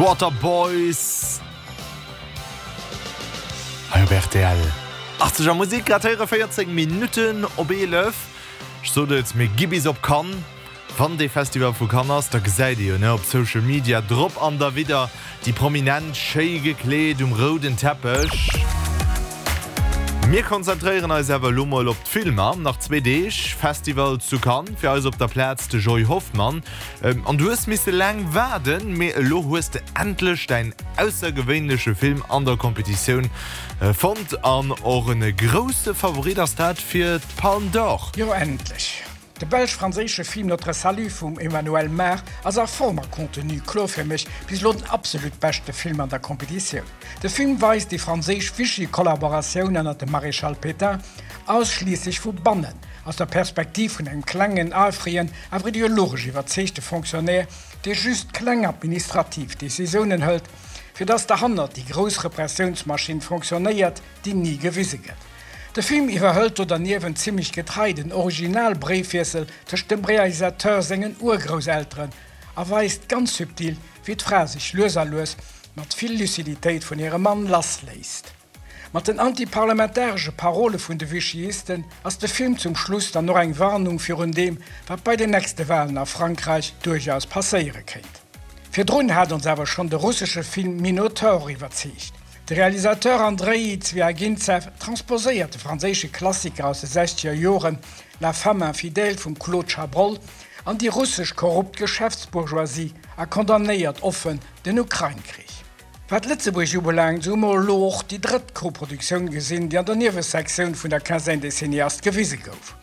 D'Waterboys hei op rtl. 80 a Musek, grad héiere 14 Minutten op 11. Ech sot et, mir gi bis op Cannes. Wann dee Festival vu Cannes ass, da gesäit ee jo, ne, op Social Media drop an derwidder déi Prominent schéi gekleet um rouden Teppech. Mir konzentréieren eis awer elo mol op d'Filmer. Nach zwee Deeg Festival zu Cannes, fir eis op der Plaz de Joy Hoffmann. An du hues misse laang waarden, mee elo hues de endlech däin aussergewéinleche Film an der Competitioun fonnt. An och e grousse Favorit ass dat fir d'Palme d'Or. Jo, endlech! De belsch-franséische Film Notre Salut vum Emmanuelle Mar ass a Form a Contenu kloer fir mech bis elo den absolut beschte Film an der Competitioun. De Film weist déi franséisch Vichy-Kollaboratioun ënnert dem Maréchal Pétain ausschliisslech vu bannen, aus der Perspektiv vun engem klengen, eifrigen, awer ideologesch iwwerzeegte Fonctionnaire, dee just kleng administrativ Decisiounen hëlt, fir datt derhannert déi grouss Repressiounsmaschinn fonctionnéiert, déi ni gewise gëtt. De Film iwwerhëlt do derniewent zimmlech getrei den Original-Bréifwiessel tëscht dem Realisateur sengen Urgrousselteren a weist ganz subtil, wéi d'Fra sech lues a lues mat vill Luciditéit vun hirem Mann lassléisst. Mat den antiparlamentaresche Parole vun de Vichyisten ass de Film zum Schluss dann och eng Warnung virun deem, wat bei den nächste Walen a Frankräich duerchaus passéiere kéint. Virdrun hat ons awer schonn de russesche Film Minotaur iwwerzeegt. De Realisateur Andreï Zviagintsev transposéiert de franséische Klassiker aus de sechzeger Joren La femme infidèle vum Claude Chabrol an déi russesch korrupt Geschäftsbourgeoisie a condamnéiert offen den Ukrain-Krich. Wat Lëtzebuerg ubelaangt, esou hu mer elo och déi drëtt Koproduktioun gesinn, déi an der Niewesektioun vun der Quinzaine des Cinéastes gewise gouf.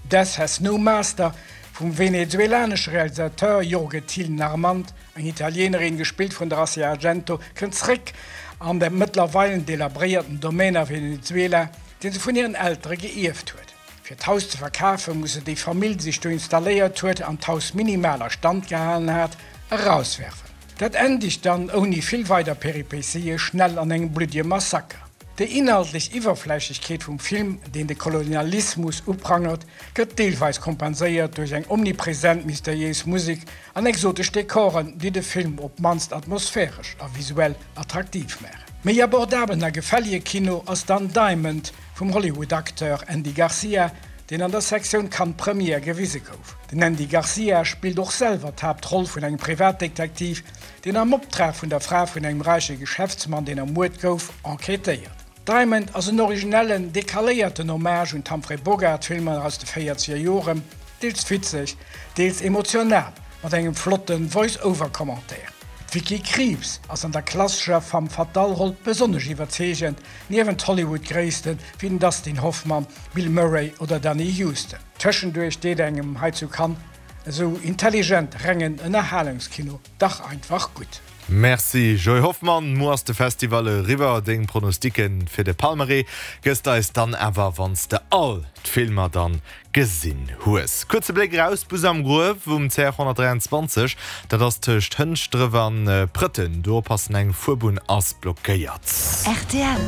Death Has No Master vum venezuelanesche Realisateur Jorge Thiel Narmand Eng Italienerin, gespillt vun der Asia Argento, kënnt zréck an de mëttlerweilen delabréierten Domaine a Venezuela, deen se vun hiren Eltere geierft huet. Fir d'Haus ze verkafen, muss se déi Famill, déi sech do installéiert huet an d'Haus minimal a Stand gehalen hat, erauswerfen. Dat endegt dann ouni vill weider Peripétië schnell an engem bluddige Massaker. Déi inhaltlech Iwwerflächlechkeet vum Film, deen de Kolonialismus uprangert, gëtt deelweis kompenséiert duerch eng omnipresent mysteriéis Musek an exotesch Dekoren, déi de Film op d'mannst atmosphäresch a visuell attraktiv maachen. Méi abordabelen a gefällige Kino ass dann Diamond vum Hollywood-Acteur Andy Garcia, deen an der Sektioun Cannes Première gewise gouf. Den Andy Garcia spillt och selwer d'Haaptroll vun engem Privatdetektiv, deen am Optrag vun der Fra vun engem räiche Geschäftsmann, deen ermuert gouf, enquêtéiert. Diamond ass en originellen, decaléierten Hommage un d'Humphrey Bogart-Filmer aus de véierzeger Joren, deels witzeg, deels emotional, mat engem flotte Voice-Over-Commentaire. D'Vicky Krieps ass an der klassescher Femme fatale-Roll besonnesch iwwerzeegend, niewent Hollywood-Gréisste wéi den Dustin Hoffmann, Bill Murray oder Danny Huston. Tëschenduerch deet engem hei zu Cannes esou intelligent rengen Ënnerhalungskino dach einfach gutt. Merci Joy Hoffmann. Muer ass de Festival eriwwer. Deng Pronosticken fir de Palmarès gëss de eis dann awer wanns de all d'Filmer dann gesinn hues. Kuerze Bléck eraus, Bus am Gruef um CR 123, dat ass tëscht Hënschdref an Prëtten. Do oppassen, eng Fuerbunn ass blockéiert. Rtl.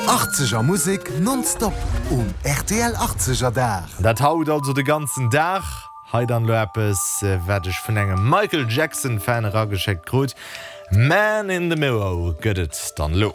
80er Musek nonstop um rtl 80er Dag. Dat haut also de ganzen Dag. Hei dann lo eppes wat ech vun engem Michael Jackson Fan erageschéckt krut, Man in the Mirror gëtt et dann lo.